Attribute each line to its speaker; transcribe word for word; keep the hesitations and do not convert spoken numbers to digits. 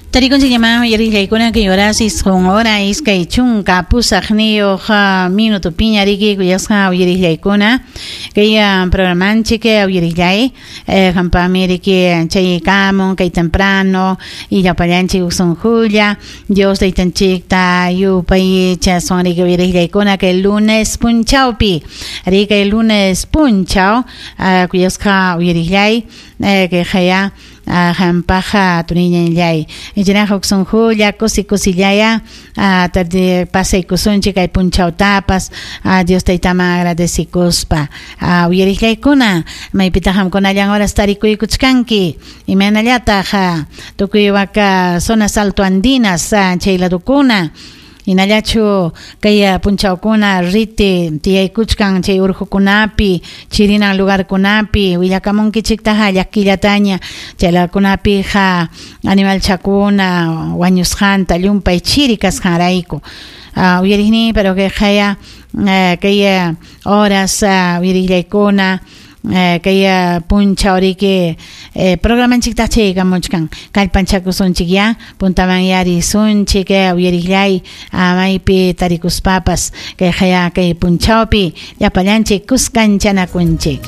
Speaker 1: Tarikunchik llaman uyariqllaykuna kay horas isqun hora iskay chunka pusaqniyuq minuto piña riki kuyasqa uyariqllaykuna kay programanchik uyariqllay hampami riki chaykamun kay temprano y llapallanchik usunjulla Dios taytanchikta yupay chaswan riki uyariqllaykuna kay lunes punchawpi riki kay lunes punchaw kuyasqa uyariqllay kay haya hampaja tuniñanllay ichinaqa huk sunqulla kusi kusillaya tarde pasaykusunchik kay punchawtapas Dios taytaman agradecikuspa uyariqllaykuna maypitaq qamkunallan horas tarikuykuchkanki imaynallataq tukuy waka zonas altoandinas chay ladukuna hinallachu kay punchawkuna riti tiyaykuchkan chay urqukunapi chirinan lugarkunapi willakamunkichiktaqa llakillataña chaylakunapiqa animalchakuna wañusqanta llumpay chiri kasqanrayku uyariqni pero kay qaya kay horas uyariqllaykuna kay punchaw riki programanchiktaq chaykamuchkan kallpanchakusunchik ya puntaman yarisunchik uyariqllay maypi tarikuspapas kay qaya kay punchawpi llapallanchik kuskanchanakunchik.